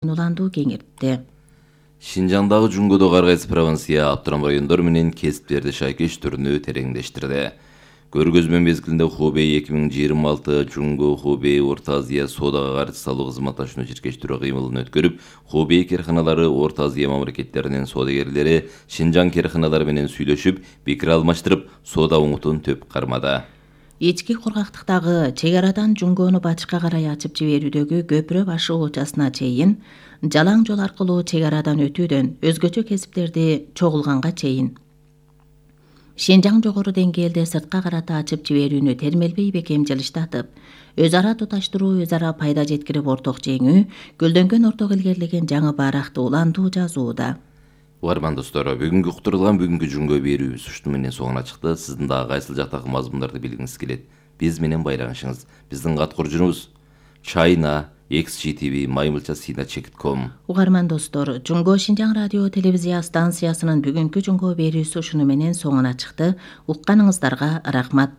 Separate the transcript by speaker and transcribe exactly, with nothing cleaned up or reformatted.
Speaker 1: уландуу кеңиртти.
Speaker 2: Шинжаңдагы Жунгодо Каргайсы провинция Аптырам райондор менен кесиптерди шайкештирүүнү тереңдештирди. Көргөзмө мезгилинде Хубей эки миң жыйырма алты Жунго Хубей Орто Азия соодага каршы салуу кызматташууну чиркештирүү кыймылын өткөрүп, Хубей керканалары Орто Азия мамлекеттеринин соодагерлери Шинжаң керканалары менен сүйлөшүп, пикир алмаштырып, соода оңутун төп кармады.
Speaker 1: Ички кургактыктагы чек арадан Жунгону батышка карай ачып жиберүүдөгү көпүрө башы учасына чейин, жалаң жол аркылуу чек арадан өтүүдөн өзгөчө кесиптерди чогулганга чейин Шинжаң жогору деңгээлде сыртка карата ачып жиберүүнү термелбей бекем жылыштатып, өз ара туташтыруу, өз ара пайда жеткирип орток жеңүү, гүлдөнгөн орток илгерлеген жаңы бааракты уландуу жазууда.
Speaker 2: Угарман достор, бүгүнкү уктурулган бүгүнкү Жунго берүүбүз ушуну менен соңуна чыкты. Сиздин дагы кайсыл жактагы мазмундарды билгиңиз келет, биз менен байланышыңыз. Биздин кат куржунубуз China X G T V маймылча сина чек ком.
Speaker 1: Угарман достор, Жунго Шинжаң радио телевизия станциясынын бүгүнкү Жунго берүүсү ушуну менен соңуна чыкты. Укканыңыздарга рахмат.